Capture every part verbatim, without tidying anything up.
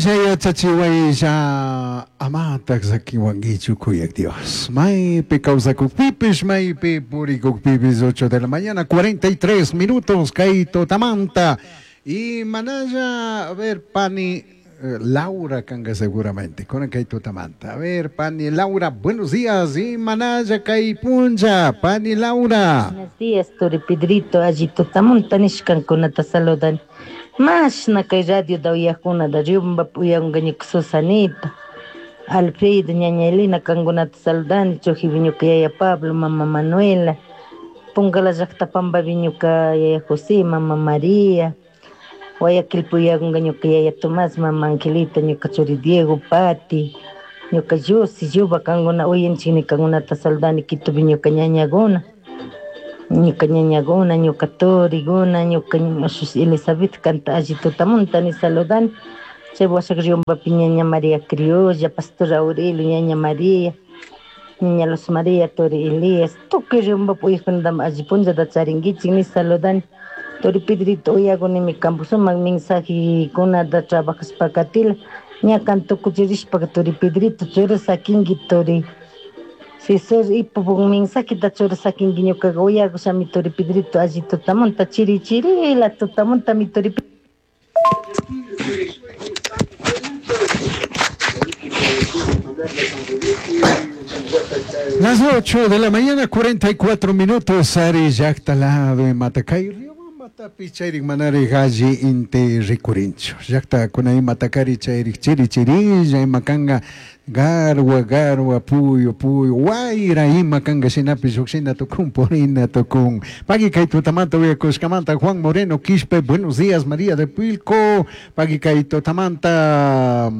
Yachachiwaylla, yachachiwaylla, amatak sakiwankichu kuyak Dios. Maypi kawsakukpipis, maypi purikukpipis, ocho de la mañana, cuarenta y tres minutos, kay tutamanta. Y manalla, a ver, pani eh, Laura kanga seguramente, con kay tutamanta. A ver, pani Laura, buenos días. Y manalla kay puncha, pani Laura. Buenos días, Turi Pedrito, allí tutamunta nishkankunata saludan. Mashna kay radio da uyakuna da Riobamba uyangañuka Susanita, Alfredo, ñaña Elena kankunata saludani, Chujibi ñuka yaya Pablo, mama Manuela, Pungala llakta Pambabi ñuka yaya José, mama María, Guayaquil puyanga ñuka yaya Tomás, mama Angelita, ñuka churi Diego, Pati, ñuka Yossi, Yuba kankuna uyanchikni kankunata saludani, Quitopi ñuka ñañaguna, ñuka ñañaguna, ñuka turiguna, ñuka Elizabeth kanta alli tutamunta ni saludani. Chay washak Riobambapi ñaña María Criolla, Pastor Aurelio, ñaña María, ñaña Luz María, Turi Elías, tukuy Riobambapi uyajkunatami alli punllata charinkichik ni saludani. Turi Pedrito uyakunimi kampu sumak mensajekunata trabajashpa katila, ña kan tukuchirishpa Turi Pedrito churasakinki Turi Cesar ipupu mensajeta churasakinki ñukaqa uyakushami Turi Pedrito alli tutamunta chiri chirila tutamunta mi Turi Pedrito. Las ocho de la mañana, cuarenta y cuatro minutos, Ari llaqta lado en Matacay, Riobamba tapi chayrik manari galli inti rikurinchu. Llaqta kunay Matacari chayrik chiri chirilla imakanga garwa garwa puyo puyo wayra imakanga shinapi lluqshina tukun purina tukun. Pagui kay tutamanta uyakushkamanta Juan Moreno Quispe, buenos días María de Pilco. Pagui kay tutamanta.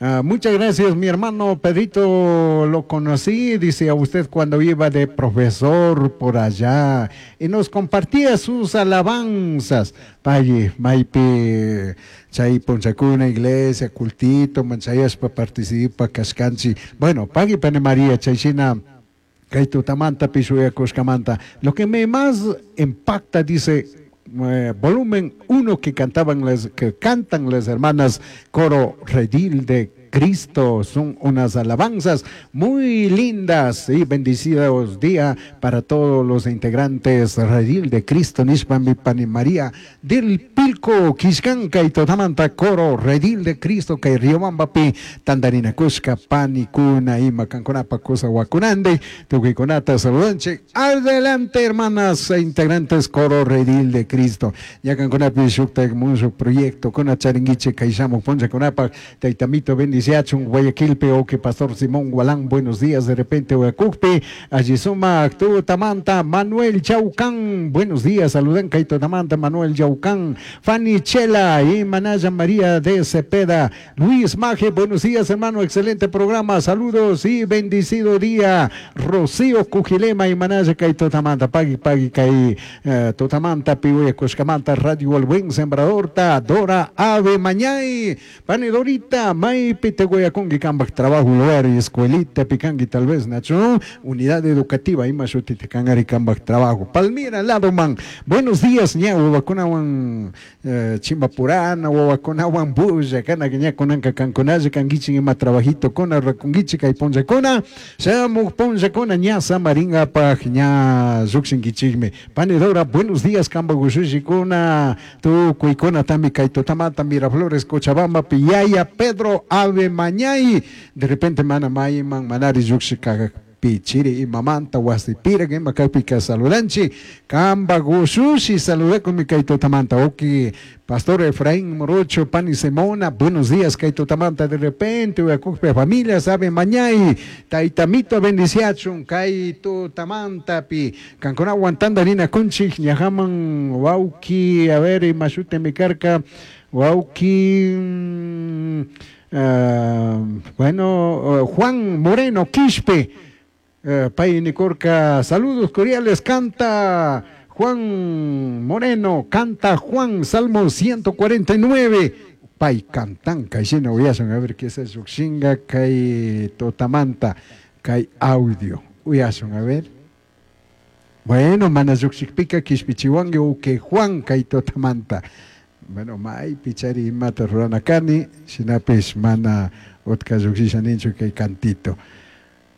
Uh, muchas gracias, mi hermano Pedrito, lo conocí, dice a usted cuando iba de profesor por allá y nos compartía sus alabanzas. Paye, maipi, chay ponchacuna, iglesia, cultito, manchayaspa, participa, cascanchi. Bueno, pagui pane María, chayshina, kay tutamanta, pishuyakushkamanta. Lo que me más impacta, dice, Eh, volumen uno que cantaban las, que cantan las hermanas Coro Redil de Cristo, son unas alabanzas muy lindas y bendecidos día para todos los integrantes Redil de Cristo, Nishpami Pani María del Pilco, Quiscanca y Totamanta, Coro Redil de Cristo, que Riobambapi, Tandarina Cusca, Pani Cuna, Ima Canconapa, Cosa Huacunande, Tuquiconata, Saludanche. Adelante, hermanas e integrantes Coro Redil de Cristo. Ya Canconapi, Shukta, Mucho Proyecto, Cona Charinguiche, Caixamo, Poncha Conapa, Taitamito, bendice. Siachun, Guayaquilpe, Oque, Pastor Simón Gualán, buenos días, de repente, Huacucpe, allí suma, Tamanta, Manuel Chaucán, buenos días, saludan, Kaito Tamanta, Manuel Chaucán, Fanny Chela y Manaya María de Cepeda, Luis Maje, buenos días, hermano, excelente programa, saludos y bendecido día, Rocío Cujilema y Manaya Kaito Tamanta, Pagui, Pagui, Kai, eh, Totamanta, Pihuya, Cuscamanta, Radio El Buen Sembrador, Ta, Dora, Ave Mañay, Pani Dorita, May, Piteguayacungui, Cambak, trabajo, lugar y escuelita, Picangui, tal vez, Nacho, unidad educativa, Imashutitecangari, Cambak, trabajo. Palmira, Ladoman, buenos días, ña, Huacunawan, eh, Chimbapurana, Huacunawan, Buya, Cana, Guiña, Conanca, Canconaye, Canguichin, Ima, Trabajito, Cona, Racunguichi, Caiponchacona, Samu, Ponchacona, ña, Samaringa, Paj, ña, Zuxinguichigme. Panedora, buenos días, Camba, Gushushicona, Tu, Cuicona, Tami, Caitotamata, Miraflores, Cochabamba, Piyaya, Pedro, Ave Mañay, de repente mana mayman manari yuxika pichiri y mamanta wasipira que macapica saludanchi kamba gusushi saludé con mi kaito tamanta oki Pastor Efraín Morocho, Pani Simona, buenos días, kaito tamanta de repente uyakupe familia sabe mañay taitamito bendiciachun kaito tamanta pi cancona aguantando harina conchi ñajaman wauki a ver y mashute mi carca wauki mmm, Uh, bueno, uh, Juan Moreno Quispe, uh, Pay Nicorca, saludos cordiales, canta Juan Moreno, canta Juan, Salmo ciento cuarenta y nueve, Pay cantan, Kayina, uyasun, a ver qué es eso, Xinga, Kay Totamanta, Kay audio, uyasun, a ver. Bueno, mana yuxikpika, Quishpichiwangue, uke Juan, Kay Totamanta. Bueno, maypi chari imata rurana kani, shinapish mana utka llukshisha ninchu kay cantito.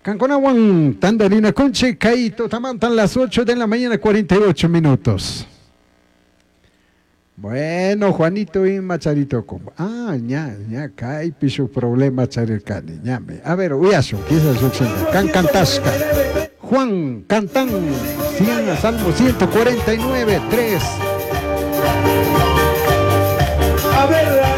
Kankunawan tandarinakunchik kay tutamantan las ocho de la mañana cuarenta y ocho minutos. Bueno, Juanito ima charito con. Ah, ña, ña, kaypi shuk problema charirkani, ñami. A ver, uyashun, quizás llukshinka. Kan kantashka. Juan cantan, cien, Salmo ciento cuarenta y nueve, tres. A ver,